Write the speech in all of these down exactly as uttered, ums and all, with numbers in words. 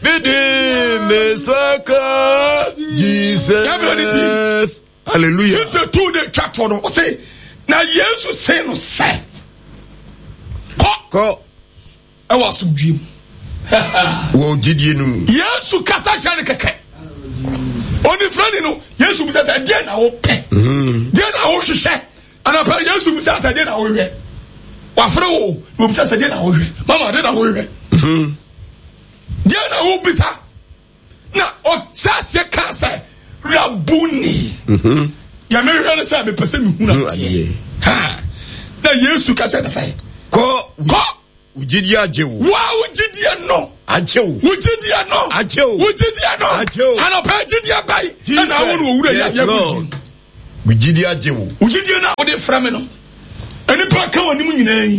Mede me nsa ka Jesus. Hallelujah. Fifty two de twa toɔ no ɔse na Yesu se no sɛ kɔ. Kɔ. Ɛwɔ asomdwie mu. Wɔ gyidie no mu. Yesu kasa kyerɛ no kɛkɛ. Onifirani no Yesu bisa sɛ deɛ na wopɛ. Mm-hmm. Deɛ na wohwehwɛ. Anapa Yesu bisa sɛ deɛ na wohwehwɛ. Wafrɛ wo na obisa sɛ deɛ na wohwehwɛ. Mama deɛ na wohwehwɛ. Mm-hmm. Deɛ na wobisa. Na ɔkyɛ aseɛ kaa sɛ Rabuni. Mm-hmm. Deɛ mehwehwɛ no sɛ mepɛ sɛ mehunu adeɛ. Na Yesu ka kyerɛ no sɛ kɔ. Kɔ. Wo gyidie agye wo. Wo a wo gyidie no. Agye wo. Wo gyidie no. Agye wo. Wo gyidie no. Agye wo. Anɔpa gyidie bɛyi. Ɛna awo no owura yi ayɛ wo gyidie. Wo gyidie agye wo. Wo gyidie no a wode frɛ me no. Nnipa ka w'anim nyinaa yi.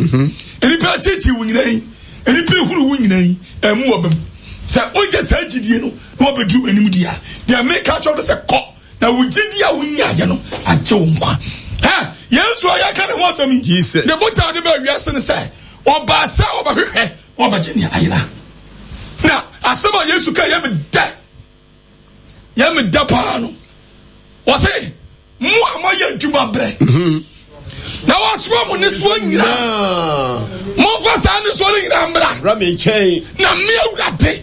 Nnipa tete wo nyinaa yi. Nnipa ehuru wo nyinaa yi. Ɛmu wɔ bɛm. Sɛ wogye saa gyidie no na wɔbɛduru anim di a, deɛ meka kyerɛ wo sɛ kɔ. Na wo gyidi a wonyaeɛ no agye wo nkwa. Hɛ! Yesu a yɛka ne ho asɛm yi, Jesus. ne botae a ɔde baa wiase ne sɛ ɔbaa sɛ ɔbɛhwehwɛ na wabɛgye nea ayera. Na asɛm a Yesu ka yɛ me dɛ, yɛ me dɛ paa no. Ɔse, mo a moayɛ adwuma brɛ mhm. na wɔasoa mo nnesoa nyinaa, momfa saa nnesoa no nyinaa mmra Bra me nkyɛn. na me Awurade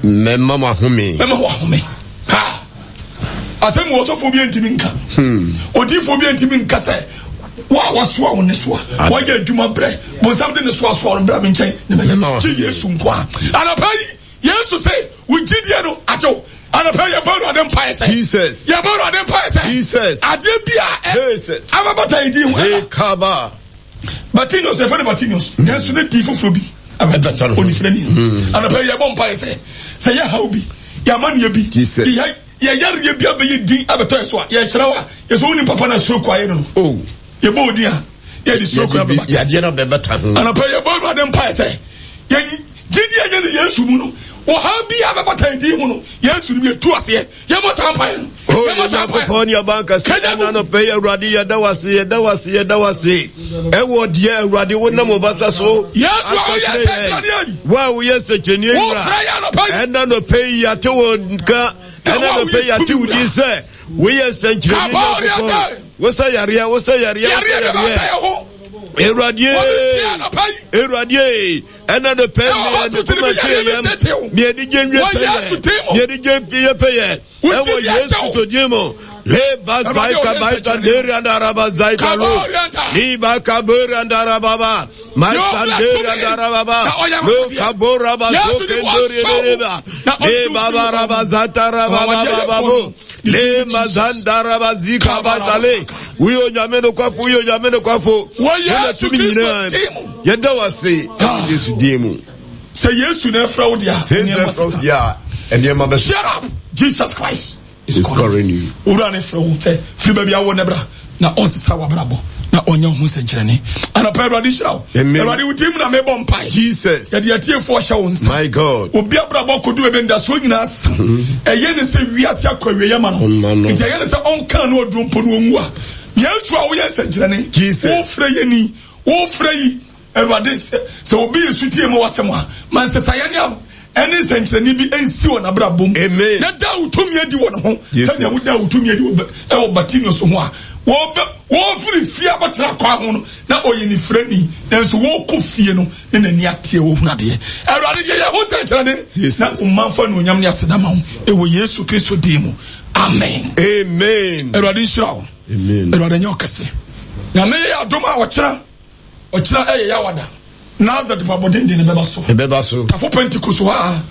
Mɛma mo ahome. Mɛma mo ahome. Ha! Asɛm wɔ ɔsɔfoɔ bi ntumi nka. Hmm. Odiifoɔ bi ntumi nka sɛ wo a wasoa wo ne soa wɔyɛ adwuma brɛ bonsam de ne soa soa no brɛ me nkyɛn ne mɛyɛ gye Yesu nko a. Anɔpa yi Yesu sɛ wo gyidie no agye wo. Anɔpa yi yɛbɔ Awurade mpaeɛ sɛ Jesus. Yɛbɔ Awurade mpaeɛ sɛ Jesus. Adeɛ bi a Jesus. abɛbata yɛ din ho ɛna. Kaba. Bartimaeus yɛfrɛ no Bartimaeus mm. nanso ne din foforɔ bi ɛbɛta no onifirani no mm. anɔpa yi yɛbɔ mpaeɛ sɛ sɛ yɛ haw bi yɛamanneɛ bi yɛyareɛ bi abɛyɛ din abɛtɔ yɛ so a yɛkyerɛ wo a yɛsɛ wonim papa no stroke ayɛ no no oh. yɛbɔ odin a yɛde stroke no abɛbata yadeɛ no bɛbɛta ho anɔpa yi yɛbɔ Awurade mpaeɛ sɛ yɛn gyidi a yɛne Yesu mu no ɔhaw bi a bɛbata yɛn din ho no Yesu no yɛtu aseɛ. Yɛmmɔ saa mpaeɛ no. O Yɛmmɔ saa mpaeɛ. Nyankopɔn ne ɔba nkɛse ɛna anɔpɛ yi Awurade yɛda wo ase yɛda wo ase yɛda wo ase ɛwɔ deɛ Awurade wonam wo basa so Yesu a aka woyɛ kyerɛ yɛn sɛnkyerɛnneɛ yi. wo a woyɛ sɛnkyerɛnneɛ Wofrɛ wura yɛn anɔpa yi. ɛna anɔpɛ yi yɛate wo nka Na ɛna wo a anɔpɛ yi woyɛ yɛate tumi wo din wura. sɛ woyɛ sɛnkyerɛnneɛ Kabɔɔ ne Nyankopɔn ate. wosɛ yareɛ wosɛ yareɛ wosɛ Yareɛ de yareɛ bɛta yɛn ho. Awurade Wɔde tie anɔpa yi. Awurade ɛna no pɛ Ɛwɔ mi ɛne hospital kuma bi tie yareɛ bi yɛm tete wo. mi ɛni gye nwie Wɔ pɛ Yesu yɛ din mu. mi ɛni gye nwie pɛ yɛ Wo ɛwɔ gyidi Yesu akyɛ wo. to din mu leba Awurade zaika ɔyɛ baita nsɛnkyerɛnne. deri andaraba zaika lo Kaba orienta. liba kaberi andaraba ba maita Yɛ deri ɔbra tumi. andaraba ba Na ɔyɛ lo anwanwadeɛ. kabora ba Yesu zoke de ndori wɔasɔ wo. dereba Na ɔnte wo leba firi wo baraba mu. zata raba ba Anwanwadeɛ ba ba yɛfoɔ bo no. lema zandaraba zika bazale woyɛ onyame nokwafo woyɛ onyame nokwafo Wɔ wona Yesu tumi Kristo nyinaa din mu. yɛda wo ase Ah. Yesu din mu Sɛ Yesu na ɛfrɛ wo deɛ a, sɛ nneɛma Yesu sesa. deɛ a nneɛma bɛsesa Shut up! Jesus Christ is is calling. calling you Owura ne frɛ wo sɛ firi baabi a wɔ ne bra na ɔnsesa w'abrabɔ na ɔnyɛ wo ho nsɛnkyerɛnne. Anɔpa Awurade nhyira wo. Amen. Awurade wo din mu na mebɔ mpae. Jesus Yɛde atiefoɔ hyɛ wo nsa. my God Obi abrabɔ kodu baabi ndasoɔ nyinaa sa. Ɛyɛ ne sɛ wiase akɔ awieeɛ ma no. Ma no. Nti ɛyɛ ne sɛ ɔnka no ɔduro mpo no ɔnwu a. Yesu a woyɛ nsɛnkyerɛnne. Jesus. Wofrɛ yɛ ni. Wofrɛ yi. Awurade sɛ sɛ obi yɛ sutie ma w'asɛm a, ma nsesaeɛ ne ab ɛne nsɛnkyerɛnne bi nsi wɔ n'abrabɔ mu. Amen. Na da wo tumi adi wɔ ne ho. Jesus. Sɛnea woda wo tumi adi wɔ Ba- ɛwɔ Bartimaeus ho a, wɔbɛ wɔfiri fie abɛtena kwan ho no, na ɔyɛ nifirani, nanso wɔkɔ fie no, ne n'ani ateɛ wɔhunu adeɛ. Awurade yɛ yɛn ho nsɛnkyerɛnne Jesus. na ɔmanfa anuonyam ne aseda ma wo ɛwɔ Yesu Kristo din mu. Amen. Amen. Awurade nhyira wo. Amen. Awurade nyɛ ɔkɛse. Nyame yɛ adom a ɔkyena ɔkyena ɛyɛ Yawada. Nazareth mpaebɔ denden no bɛba so. Ɛbɛba so. Tafo Pentecost hɔ a,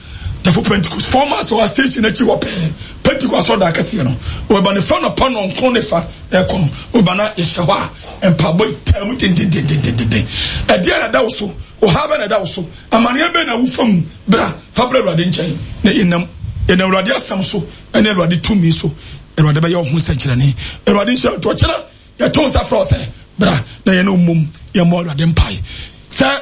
Tafo Pentecost, four miles wɔ station akyi hɔ pɛɛ, Pentecost asɔrdan akɛseɛ no, wɔba ne fa nɔpa nɔnkron ne fa ɛkɔ no, wɔba na yɛhyɛ hɔ a, mpaebɔ yi taa mu dendendendendenden. Ɛdeɛ na ɛda wo so, ɔhaw bɛ na ɛda wo so, amaneɛ bɛ na wofa mu, bra, fa bra Awurade nkyɛn, na yɛnam, yɛnam Awurade asɛm so, ɛne Awurade tumi so, Awurade bɛyɛ wo ho nsɛnkyerɛnne. Awurade nhyira wo. Nti ɔkyena yɛto nsa frɛ wo sɛ bra na yɛne wo mmom yɛmmɔ Awurade mpae. Sɛ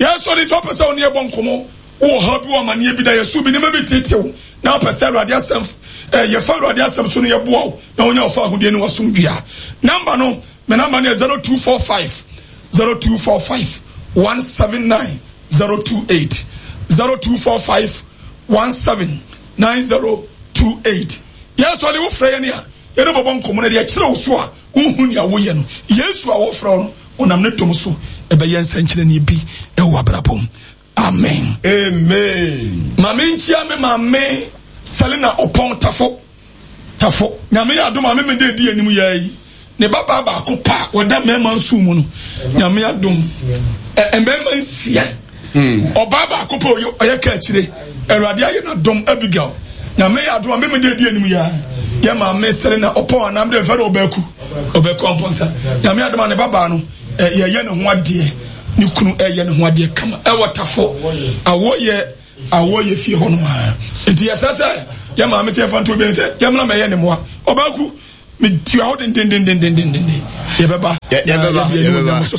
yɛsɔre sɛ wopɛ sɛ wo ne yɛbɔ nkɔmmɔ, wowɔ haw bi wɔ amanneɛ bi da yɛso bi nneɛma bi tete wo na wopɛ sɛ Awurade asɛm eh, yɛfa Awurade asɛm so no yɛboa wo na wonya wo fa ahodie ne wasomdwie a, namba no, me namba no yɛ zero two four five zero two four five one seven nine zero two eight zero two four five one seven nine zero two eight. Yɛn sɔre wofrɛ yɛn a yɛne bɔbɔ nkɔmmɔ no deɛ kyerɛ wo so a wohu nea woyɛ no. Yesu a wɔfrɛ wo no ɔnam ne dom so ɛbɛyɛ nsɛnkyerɛnne bi ɛwɔ abrabɔ mu. Amen. Amen. Maame nkyia me maame Selina Ɔpɔn Tafo. Tafo. Nyame yɛ adom a me mede di anim yɛ yi. Ne babaa baako pa a wɔda mmarima nson mu no. Nyame adom. Mmarima nsia. Ɔbaa baako pa ɔyɛ ka akyire. Awurade ayɛ n'adom Abigail. Nyame yɛ adom a me mede di anim yɛ. Yɛ maame Selina Ɔpɔn anam de mfɛ no ɔbaaku. Ɔbaaku ampɔnsa. Nyame adom a ne babaa no yɛyɛ ne ho adeɛ. Ne kunu ɛyɛ ne ho adeɛ kama ɛwɔ Tafo. Awɔ yɛ awɔ yɛ fie hɔ no a. Nti yɛsrɛ sɛ yɛ maame sɛ yɛfa nto obi sɛ yɛmmra mɛyɛ ne mmoa. Ɔbaaku metua hɔ dendendendendenden. Yɛbɛba. Yɛbɛba. Yɛbɛba. So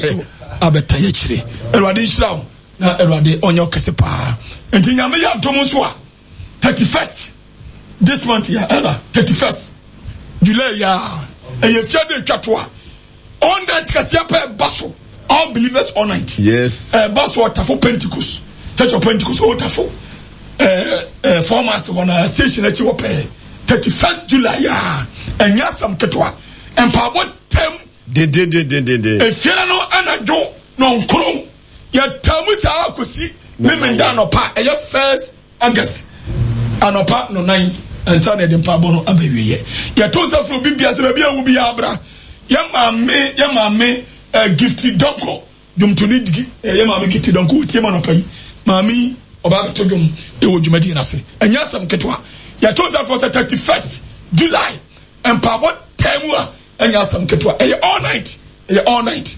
abɛta yɛ akyire. Awurade nhyira wo na Awurade ɔnyɛ ɔkɛse paa. Nti Nyame yɛ adom nso a thirty first this month yɛ ɛna thirty first July yɛ a ɛyɛ fia de twa to a all night kɛseɛ pɛ ɛba so. All believers all night. Yes. Ɛba so Ɔtafo Pentecost Church of Pentecost Ɔtafo ɛɛ ɛɛ four miles wɔ na station akyi wɔ pɛɛ thirty first July yɛ a ɛnyɛ asɛm ketewa mpaabɔ tɛm. Dendendendenden. Efiara no anadwo nɔnkron yɛtaa mu saa kɔsi memenda anɔpa ɛyɛ first August anɔpa no nan ansa na yɛde mpaabɔ no aba wieɛ. Yɛto nsa frɛ obi bia sɛ baabi a wo biara bra. Yɛ maame yɛ maame uh, Gifty Donko dwomtoni digi eh, yɛ maame Gifty Donko wotie ma anɔpa yi. Maame yi ɔbaa bɛto dwom ɛwɔ dwumadie no ase. Ɛnyɛ asɛm ketewa. Yɛto nsa frɛ sɛ thirty first July mpaabɔ taa mu a ɛnyɛ asɛm ketewa. Ɛyɛ all night. Ɛyɛ all night.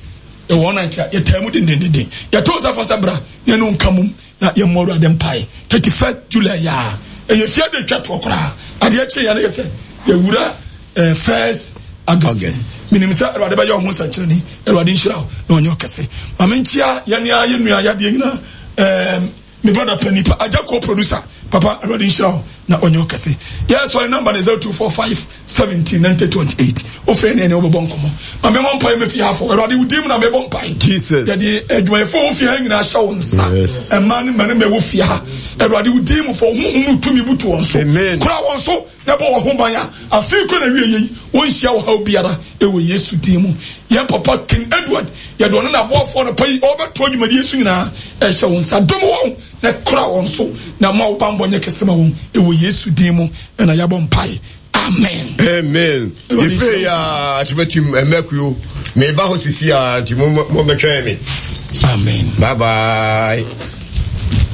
Ɛwɔ all night a yɛtaa mu dendendenden. Yɛto nsa frɛ sɛ bra na yɛne wo nka mom na yɛmmɔ Awurade mpae. thirty first July yɛ a ɛyɛ fie de twa toɔ koraa. Adeɛ kye yɛ no yɛ sɛ yɛwura eh, first August. Menim sɛ Awurade bɛyɛ wo ho nsɛnkyerɛnne. Awurade nhyira wo na ɔnyɛ ɔkɛse. Ma menkyia yɛne a yɛ nua yadeɛ nyinaa eh, me brother pani pa agya ko producer papa Awurade nhyira wo na ɔnyɛ ɔkɛse. Yɛ sɔre number ne zero two four five seventeen ninety twenty eight. Wofrɛ ne ɛne wobɛbɔ nkɔmmɔ. Ma memmɔ mpae mɛfie hafo. Awurade wo din mu na mebɔ mpae. Jesus. Yɛde adwumayɛfoɔ wɔ fie ha nyinaa hyɛ wo nsa. Yes. Mmaa ne mmarima ɛwɔ fie ha. Awurade wo din mu fa wo honhom no tumi butu wɔn so. Amen. Kora wɔn so na bɔ wɔn ho ban a afei kora na wie yei wɔnhyia ɔhaw biara ɛwɔ Yesu din mu. Yɛn papa King Edward yɛde ɔno n'aboafoɔ no pa yi ɔbɛtoa dwumadie so nyinaa ɛhyɛ wo nsa. Dom wɔn na kora wɔn so na ma wo bammɔ nyɛ kɛse ma wɔn ɛwɔ Yesu din mu ɛna yɛabɔ mpae. Amen. Amen. Ife ya tibetim emekuyo. Me ba ho sisi a nti mo mo betwɛn me. Amen. Bye bye.